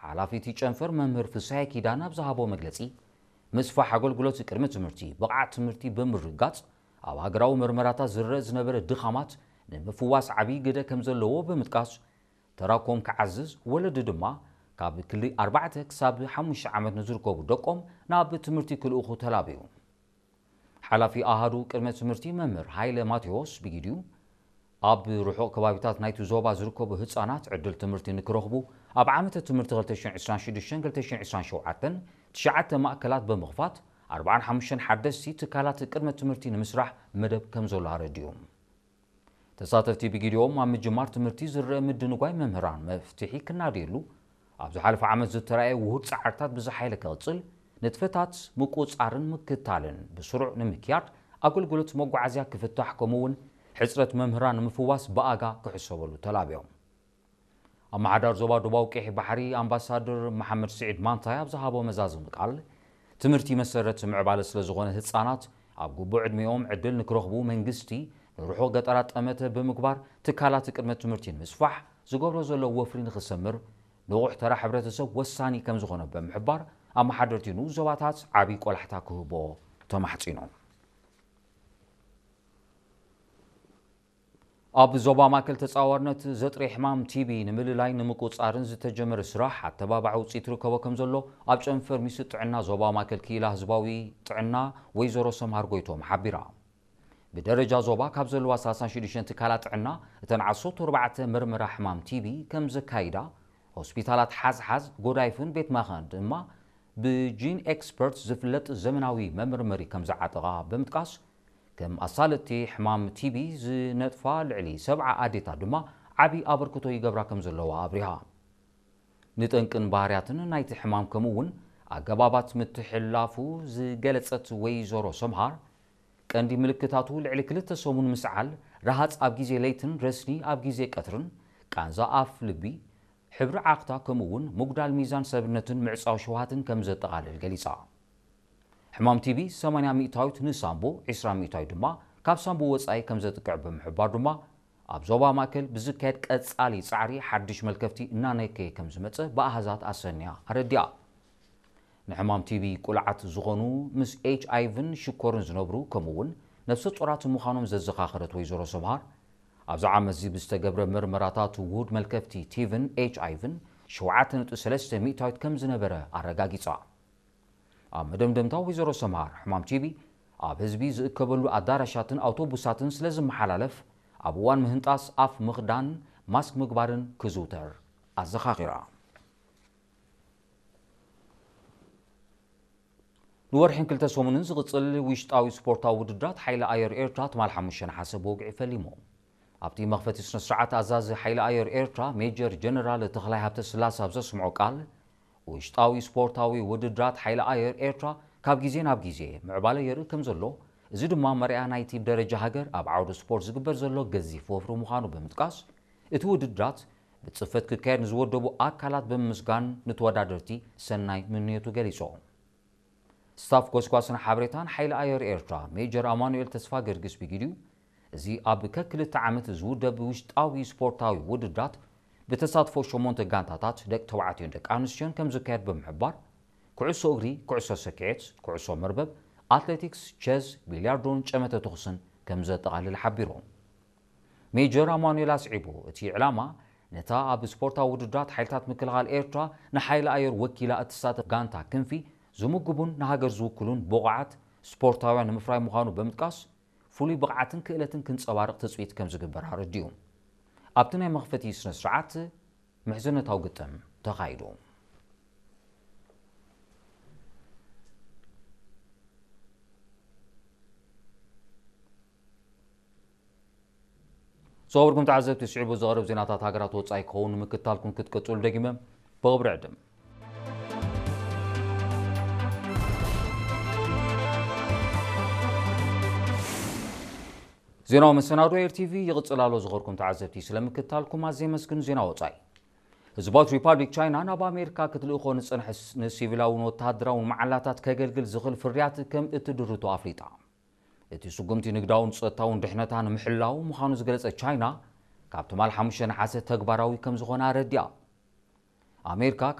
ሓላፊ እቲ ጨንፈር መምህር ፍስሃየ ኪዳነ ኣብ ዝሃቦ መግለጺ፣ ምስፋሕ ኣገልግሎት ቅድመ ትምህርቲ፣ ብቕዓት ትምህርቲ ብምርግጋጽ፣ ኣብ ሃገራዊ መርመራታት ዝረአ ዝነበረ ድኻማት ንምፍዋስ ዓብዪ ግደ ከም ዘለዎ ብምጥቃስ፣ ተራኮም ክዓዝዝ፣ ወለዲ ድማ ካብ ክሊ ኣርባዕተ ክሳብ ሓሙሽተ ዓመት ንዝርከቡ ደቆም ናብ ትምህርቲ ክልእኹ ተላብዩ። ሓላፊ ኣሃዱ ቅድመ ትምህርቲ መምህር ሃይለ ማቴዎስ ብጊዲኡ፣ ኣብ ርሑቕ ከባቢታት ናይቲ ዞባ ዝርከቡ ህጻናት ዕድል ትምህርቲ ንክረኽቡ፣ ኣብ ዓመተ ትምህርቲ ክልተ ሽሕን ዕስራን ሽዱሽተን ክልተ ሽሕን ዕስራን ሸውዓተን ትሽዓተ ማእከላት ብምኽፋት፣ ኣርባዓን ሓሙሽተን ሓደስቲ ትካላት ቅድመ ትምህርቲ ንምስራሕ መደብ ከም ዘሎ ኣረዲኡ። ተሳተፍቲ ብጊዲኦም፣ ኣብ ምጅማር ትምህርቲ ዝረአ ምድንጓይ መምህራን መፍትሒ ክናድየሉ፣ ኣብ ዝሓለፈ ዓመት ዝተራእየ ውሁድ ጻዕርታት ብዝሓይለ ክቕጽል፣ ንጥፈታት ምቁጻርን ምክታልን ብስሩዕ ንምክያድ፣ ኣገልግሎት መጓዓዝያ ክፍታሕ፣ ከምኡ እውን ሕጽረት መምህራን ንምፍዋስ ብኣጋ ክሕሰበሉ ተላብዮም። ኣመሓዳር ዞባ ደቡባዊ ቀይሕ ባሕሪ ኣምባሳደር መሓመድ ስዒድ ማንታይ ኣብ ዝሃቦ መዛዘሚ ቃል፣ ትምህርቲ መሰረት ምዕባለ ስለ ዝኾነ፣ ህጻናት ኣብ ግቡእ ዕድሚኦም ዕድል ንክረኽቡ መንግስቲ ንርሑቕ ገጠራት ጠመተ ብምግባር፣ ትካላት ቅድመ ትምህርቲ ንምስፋሕ ዝገብሮ ዘሎ ወፍሪ ንክሰምር፣ ንቑሕ ተራ ሕብረተሰብ ወሳኒ ከም ዝኾነ ብምሕባር፣ ኣመሓደርቲ ንኡስ ዞባታት ዓብዪ ቆላሕታ ክህቦ ተማሕጺኖም። ኣብ ዞባ ማእከል ተጻዋርነት ዘጥሪ ሕማም ቲቢ ንምልላይ ንምቁጻርን ዝተጀመረ ስራሕ ኣተባባዒ ውጽኢት ርከቦ ከም ዘሎ ኣብ ጨንፈር ሚኒስትሪ ጥዕና ዞባ ማእከል ክኢላ ህዝባዊ ጥዕና ወይዘሮ ሰምሃር ጎይቶም ሓቢራ። ብደረጃ ዞባ ካብ ዘለዋ ሰላሳን ሽዱሽተን ትካላት ጥዕና እተን ዓሰርተ ኣርባዕተ መርመራ ሕማም ቲቢ ከም ዘካይዳ፣ ሆስፒታላት ሓዝሓዝ፣ ጎዳይፍን ቤት ማኸን ድማ ብጂን ኤክስፐርት ዝፍለጥ ዘመናዊ መመርመሪ ከም ዝዓጠቓ ብምጥቃስ፣ ከም ኣሳለጥቲ ሕማም ቲቢ ዝነጥፋ ልዕሊ ሰብዓ ኣዴታት ድማ ዓቢ ኣበርክቶ ይገብራ ከም ዘለዋ ኣብሪሃ። ንጠንቅን ባህርያትን ናይቲ ሕማም ከምኡ እውን ኣገባባት ምትሕልላፉ ዝገለጸት ወይዘሮ ሰምሃር፣ ቀንዲ ምልክታቱ ልዕሊ ክልተ ሰሙን ምስዓል፣ ረሃጽ ኣብ ግዜ ለይትን ረስኒ ኣብ ግዜ ቀትርን፣ ቃንዛ ኣፍ ልቢ፣ ሕብሪ ዓኽታ ከምኡ እውን ምጉዳል ሚዛን ሰብነትን ምዕጻው ሽውሃትን ከም ዘጠቓልል ገሊጻ። ሕማም ቲቢ ሰማንያ ሚእታዊት ንሳምቡ፣ ዕስራ ሚእታዊት ድማ ካብ ሳምቡ ወጻኢ ከም ዘጥቅዕ ብምሕባር ድማ፣ ኣብ ዞባ ማእከል ብዝካየድ ቀጻሊ ጻዕሪ ሓድሽ መልከፍቲ እናነከየ ከም ዝመጸ ብኣሃዛት ኣሰንያ ኣረዲኣ። ንሕማም ቲቢ ቁልዓት ዝኾኑ፣ ምስ ኤች ኣይ ቪን ሽኮርን ዝነብሩ፣ ከምኡ እውን ነፍሰ ጡራት ምዃኖም ዘዘኻኸረት ወይዘሮ ሰምሃር፣ ኣብዚ ዓመት እዚ ብዝተገብረ መርመራታት ውሁድ መልከፍቲ ቲቪን ኤች ኣይ ቪን ሸውዓተ ነጥቢ ሰለስተ ሚእታዊት ከም ዝነበረ ኣረጋጊጻ። ኣብ መደምደምታ ወይዘሮ ሰምሃር፣ ሕማም ቲቢ ኣብ ህዝቢ ዝእከበሉ ኣዳራሻትን ኣውቶቡሳትን ስለ ዝመሓላለፍ፣ ኣብ እዋን ምህንጣስ ኣፍ ምኽዳን ማስክ ምግባርን ክዝውተር ኣዘኻኺራ። ንወርሕን ክልተ ሰሙንን ዝቕጽል ውሽጣዊ ስፖርታዊ ውድድራት ሓይሊ ኣየር ኤርትራ ትማል ሓሙሽተ ነሓሰ ብወግዒ ፈሊሙ። ኣብቲ መኽፈቲ ስነ ስርዓት፣ ኣዛዚ ሓይሊ ኣየር ኤርትራ ሜጀር ጀነራል ተኽላይ ሃብተስላሴ ኣብ ዘስምዖ ቃል፣ ውሽጣዊ ስፖርታዊ ውድድራት ሓይሊ ኣየር ኤርትራ ካብ ግዜ ናብ ግዜ ምዕባለ የርኢ ከም ዘሎ፣ እዚ ድማ መርኣያ ናይቲ ብደረጃ ሃገር ኣብ ዓውዲ ስፖርት ዝግበር ዘሎ ገዚፍ ወፍሪ ምዃኑ ብምጥቃስ፣ እቲ ውድድራት ብጽፈት ክካየድ ንዝወደቡ ኣካላት ብምምስጋን፣ ንተወዳደርቲ ሰናይ ምንዮቱ ገሊጹ። ስታፍ ጎስጓስን ሓበሬታን ሓይሊ ኣየር ኤርትራ ሜጀር ኣማኑኤል ተስፋ ገርግስ ብጊዲኡ፣ እዚ ኣብ ከክልተ ዓመት ዝውደብ ውሽጣዊ ስፖርታዊ ውድድራት ብተሳትፎ ሸሞንተ ጋንታታት ደቂ ተባዕትዮን ደቂ ኣንስትዮን ከም ዝካየድ ብምሕባር፣ ኩዕሶ እግሪ፣ ኩዕሶ ሰኪዔት፣ ኩዕሶ መርበብ፣ ኣትሌቲክስ፣ ቸዝ፣ ቢልያርዶን ጨመተ ተኹስን ከም ዘጠቓልል ሓቢሩ። ሜጀር ኣማኑኤል ኣስዒቡ፣ እቲ ዕላማ ነታ ኣብ ስፖርታዊ ውድድራት ሓይልታት ምክልኻል ኤርትራ ንሓይሊ ኣየር ወኪላ እትሳተፍ ጋንታ ክንፊ ዝምግቡን ንሃገር ዝውክሉን ብቑዓት ስፖርታውያን ንምፍራይ ምዃኑ ብምጥቃስ፣ ፍሉይ ብቕዓትን ክእለትን ክንጸባርቕ ትጽቢት ከም ዝግበር ኣረዲኡ። ኣብቲ ናይ መኽፈቲ ስነ ስርዓት ምሕዝነታዊ ግጥም ተኻይዱ። ዝኸበርኩም ተዓዘብቲ፣ ስዒቡ ዝቐርብ ዜናታት ሃገራት ወጻኢ ክኸውን ንምክትታልኩም ክትቅጽሉ ደጊመ ብኽብሪ ዕድም። ዜናዊ መሰናዶ ኤር ቲቪ ይቕጽል ኣሎ። ዝኸበርኩም ተዓዘብቲ፣ ስለምክትታልኩም ኣዝየ የመስግን። ዜና ወጻኢ። ህዝባዊት ሪፓብሊክ ቻይና ናብ ኣሜሪካ ክትልእኾ ንጸንሐ ስ-፣ ንሲቪላውን ወተሃደራውን መዓላታት ከገልግል ዝኽእል ፍርያት ከም እትድርቶ ኣፍሊጣ። እቲ ስጉምቲ ንግዳውን ጸጥታውን ድሕነታ ንምሕላው ምዃኑ ዝገለጸት ቻይና፣ ካብ ትማል ሓሙሽተ ነሓሰ ተግባራዊ ከም ዝኾነ ኣረዲኣ። ኣሜሪካ